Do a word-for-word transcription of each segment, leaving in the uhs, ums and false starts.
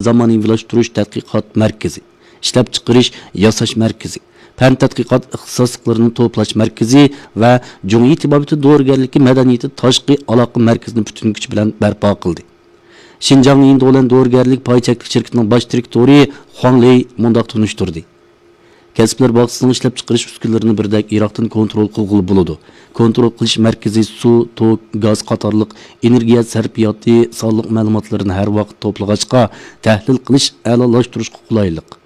زامانىۋىلاشتۇرۇش تەتقىقات مەركىزى، ئىشلەپچىقىرىش، ياساش مەركىزى، پەن تەتقىقات ئىختىساسلىقلىرىنى توپلاش مەركىزى ۋە جۇڭيى تېبابىتى دورىگەرلىكى مەدەنىيىتى تاشقى ئالاقە مەركىزىنى پۈتۈن كۈچ بىلەن بەرپا قىلدى. شىنجاڭ ئىندىۋلەن دورىگەرلىك پاي چەكلىك شىركىتىنىڭ باش دىرېكتورى خۇاڭ لېي مۇنداق تونۇشتۇردى. كەسىپلەر باغچىسىنىڭ ئىشلەپچىقىرىش ئۈسكۈنىلىرىنى بىردەك يىراقتىن كونترول قىلغىلى بولىدۇ. كونترول قىلىش مەركىزى سۇ، توك، گاز قاتارلىق ئېنېرگىيە سەرپىياتى سانلىق مەلۇماتلىرىنى ھەر ۋاقىت توپلىغاچقا، تەھلىل قىلىش ئەلالاشتۇرۇشقا قولايلىق.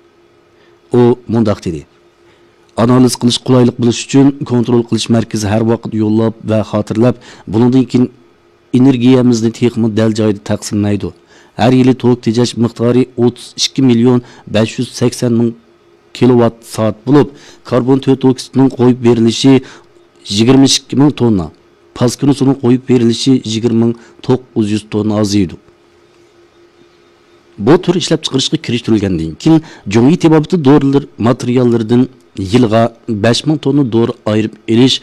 ئۇ مۇنداق دېدى: ئانالىز قىلىش قولايلىق بولۇش ئۈچۈن، كونترول قىلىش مەركىزى ھەر ۋاقىت يوللاپ ۋە خاتىرىلەپ، بۇنىڭدىن كېيىن ئېنېرگىيەمىزنى تېخىمۇ دەل جايىدا تەقسىملەيدۇ. ھەر يىلى توك تېجەش مىقدارى ئوتتۇز ئىككى مىليون بەش يۈز سەكسەن مىڭ كىلوۋات سائەت بولۇپ، كاربون تۆت ئوكسىدىنىڭ قويۇپ بېرىلىشى يىگىرمە ئىككى مىڭ توننا، پاسكىنا سۇنىڭ قويۇپ بېرىلىشى يىگىرمە مىڭ توققۇز يۈز توننا ئازىيىدۇ. بۇ تۈر ئىشلەپچىقىرىشقا كىرىشتۈرۈلگەندىن كېيىن، جۇڭيى تېبابىتى دورىلىرى ماتېرىياللىرىدىن يىلىغا بەش مىڭ توننا دورا ئايرىپ ئېلىش،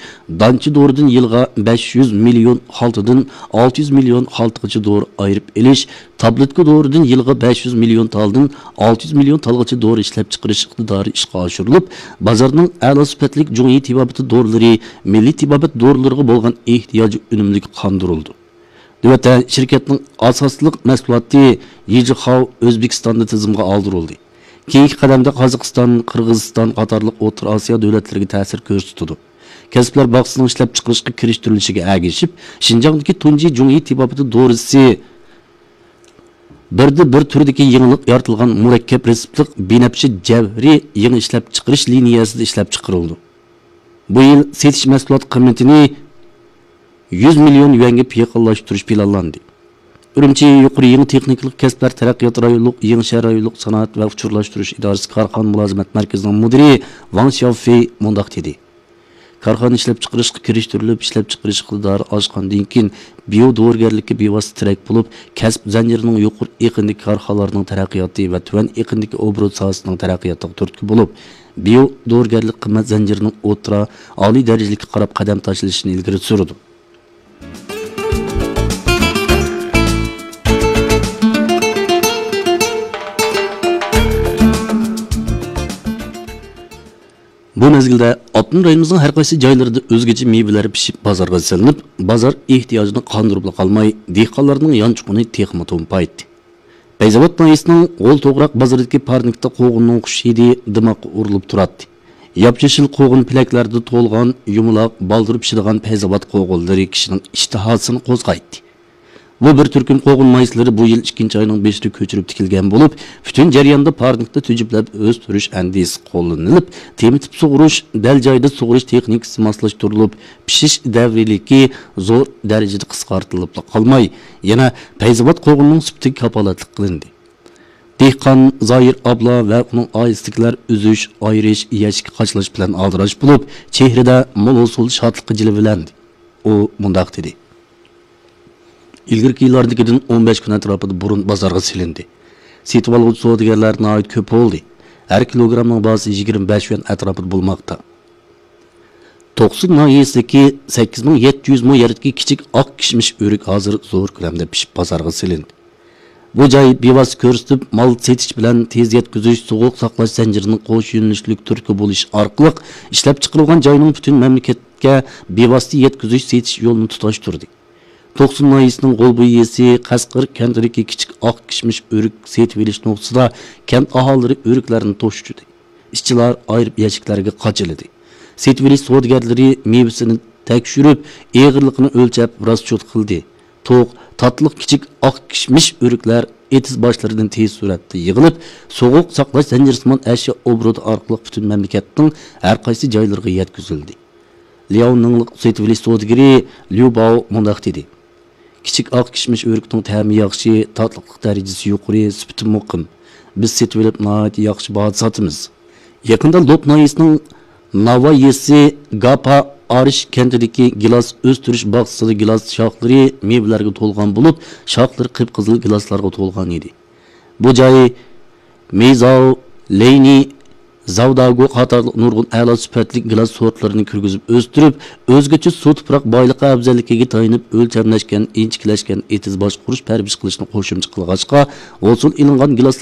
دانچە دورىدىن يىلىغا بەش يۈز مىليون خالتىدىن ئالتە يۈز مىليون خالتىغىچە دورا ئايرىپ ئېلىش، تابلېتكا دورىدىن يىلىغا بەش يۈز مىليون تالدىن ئالتە يۈز مىليون تالغىچە دورا ئىشلەپچىقىرىش ئىقتىدارى ئىشقا ئاشۇرۇلۇپ، بازارنىڭ ئەلا سۈپەتلىك جۇڭيى تېبابىتى دورىلىرى، مىللىي تېبابەت دورىلىرىغا بولغان ئېھتىياجى ئۈنۈملۈك قاندۇرۇلىدۇ. نۆۋەتتە شىركەتنىڭ ئاساسلىق مەھسۇلاتى يىجىخاۋ ئۆزبېكىستاندا تىزىمغا ئالدۇرۇلدى. كېيىنكى قەدەمدە قازاقىستان، قىرغىزىستان قاتارلىق ئوتتۇرا ئاسىيا دۆلەتلىرىگە تەسىر كۆرسىتىدۇ. كەسىپلەر باغچىسىنىڭ ئىشلەپچىقىرىشقا كىرىشتۈرۈلۈشىگە ئەگىشىپ، شىنجاڭدىكى تۇنجى جۇڭيى تېبابىتى دورىسى بىردە بىر تۈردىكى يېڭىلىق يارىتىلغان مۇرەككەپ رېتسېپلىق بىنەپشە جەۋھىرى يېڭى ئىشلەپچىقىرىش لىنىيەسىدە ئىشلەپچىقىرىلىدۇ. بۇ يىل سېتىش مەھسۇلات قىممىتىنى يۈز مىليون يۈەنگە يېقىنلاشتۇرۇش پىلانلاندى. ئۈرۈمچى يۇقىرى يېڭى تېخنىكىلىق كەسىپلەر تەرەققىيات رايونلۇق يېڭىچە رايونلۇق سانائەت ۋە ئۇچۇرلاشتۇرۇش ئىدارىسى كارخانا مۇلازىمەت مەركىزىنىڭ مۇدىرى ۋاڭ شياۋفېي مۇنداق دېدى: كارخانا ئىشلەپچىقىرىشقا كىرىشتۈرۈلۈپ، ئىشلەپچىقىرىش ئىقتىدارى ئاشقاندىن كېيىن، بىيو دورىگەرلىككە بىۋاسىتە تىرەك بولۇپ، كەسىپ زەنجىرىنىڭ يۇقىرى ئېقىندىكى كارخانىلارنىڭ تەرەققىياتى ۋە تۆۋەن ئېقىندىكى ئوبوروت ساھەسىنىڭ تەرەققىياتىغا تۈرتكە بولۇپ، بىيو دورىگەرلىك قىممەت زەنجىرىنىڭ ئوتتۇرا، ئالىي دەرىجىلىككە قاراپ قەدەم تاشلىشىنى ئىلگىرى سۈرىدۇ. بۇ مەزگىلدە ئاپتونوم رايونىمىزنىڭ ھەر قايسى جايلىرىدا ئۆزگىچە مېۋىلەر پىشىپ بازارغا سېلىنىپ، بازار ئېھتىياجىنى قاندۇرۇپلا قالماي، دېھقانلارنىڭ يانچۇقىنى تېخىمۇ تومپايتتى. پەيزاۋات ناھىيەسىنىڭ غول توغراق بازىرىدىكى پارنىكتا قوغۇننىڭ خۇش ھىدى دىماغقا ئۇرۇلۇپ تۇراتتى. ياپيېشىل قوغۇن پېلەكلەردە تولغان، يۇمىلاق، بالدۇر پىشىدىغان پەيزاۋات قوغۇنلىرى كىشىنىڭ ئىشتىھاسىنى قوزغايتتى. بۇ بىر تۈركۈم قوغۇن ناھىيەسىلىرى بۇ يىل ئىككىنچى ئاينىڭ بېشىدا كۆچۈرۈپ تىكىلگەن بولۇپ، پۈتۈن جەرياندا پارنىكتا تۈجۈپلەپ ئۆستۈرۈش ئەندىزىسى قوللىنىلىپ، تېمىتىپ سۇغۇرۇش، دەل جايىدا سۇغۇرۇش تېخنىكىسى ماسلاشتۇرۇلۇپ، پىشىش دەۋرىيلىكى زور دەرىجىدە قىسقارتىلىپلا قالماي، يەنە پەيزاۋات قوغۇنىنىڭ سۈپىتىگە كاپالەتلىك قىلىندى. دېھقان زاھىر ئابلا ۋە ئۇنىڭ ئائىلىسىدىكىلەر ئۈزۈش، ئايرىش، يەشىككە قاچىلاش بىلەن ئالدىراش بولۇپ، چېھرىدە مول ھوسۇل، شادلىققا جىلۋىلەندى. ئۇ مۇنداق دېدى: ئىلگىرىكى يىللاردىكىدىن ئون بەش كۈن ئەتراپىدا بۇرۇن بازارغا سېلىندى. سېتىۋالغۇچى سودىگەرلەر ناھايىتى كۆپ بولدى. ھەر كىلوگرامنىڭ باھاسى يىگىرمە بەش يۈەن ئەتراپىدا بولماقتا. توقسۇن ناھىيەسىدىكى سەككىز مىڭ يەتتە يۈز مو يەردىكى كىچىك ئاق كىشمىش ئۆرۈك ھازىر زور كۆلەمدە پىشىپ بازارغا سېلىندى. بۇ جاي بىۋاسىتە كۆرسىتىپ، مال سېتىش بىلەن تېز يەتكۈزۈش، سوغۇق ساقلاش زەنجىرىنىڭ قوش يۆنىلىشلىك تۈرتكە بولۇشى ئارقىلىق ئىشلەپچىقىرىلغان جاينىڭ پۈتۈن مەملىكەتكە بىۋاسىتە يەتكۈزۈش سېتىش يولىنى تۇتاشتۇردى. توقسۇن ناھىيەسىنىڭ غولبۇي يېزىسى قەسقىر كەنتىدىكى كىچىك ئاق كىشمىش ئۆرۈك سېتىۋېلىش نۇقتىسىدا كەنت ئاھالىلىرى ئۆرۈكلەرنى توشۇشتۇردى. ئىشچىلار ئايرىپ يەشىكلەرگە قاچىلىدى. سېتىۋېلىش سودىگەرلىرى مېۋىسىنى تەكشۈرۈپ، ئېغىرلىقىنى ئۆلچەپ، راسچوت قىلدى. توق، تاتلىق كىچىك ئاق كىشمىش ئۆرۈكلەر ئېتىز باشلىرىدىن تېز سۈرئەتتە يىغىلىپ، سوغۇق ساقلاش زەنجىرىسىمان ئەشيا ئوبوروتى ئارقىلىق پۈتۈن مەملىكەتنىڭ ھەر قايسى جايلىرىغا يەتكۈزۈلدى. لياۋنىڭلىق سېتىۋېلىش سودىگىرى ليۇ باۋ مۇنداق دېدى: كىچىك ئاق كىشمىش ئۆرۈكنىڭ تەمى ياخشى، تاتلىقلىق دەرىجىسى يۇقىرى، سۈپىتى مۇقىم. بىز سېتىۋېلىپ ناھايىتى ياخشى باھادا ساتىمىز. يېقىندا لوپ ناھىيەسىنىڭ ناۋا يېزىسى گاپا ئارىش كەنتىدىكى گىلاس ئۆستۈرۈش باغچىسىدا گىلاس شاخلىرى مېۋىلەرگە تولغان بولۇپ، شاخلىرى قىپقىزىل گىلاسلارغا تولغان ئىدى. بۇ جاي مېيزاۋ، لېينى، زاۋداگو قاتارلىق نۇرغۇن ئەلا سۈپەتلىك گىلاس سورتلىرىنى كىرگۈزۈپ ئۆستۈرۈپ، ئۆزگىچە سۇ تۇپراق بايلىقى ئەۋزەللىكىگە تايىنىپ ئۆلچەملەشكەن، ئىنچىكىلەشكەن ئېتىز باشقۇرۇش، پەرۋىش قىلىشنى قوشۇمچە قىلغاچقا، ھوسۇل ئېلىنغان گىلاسلار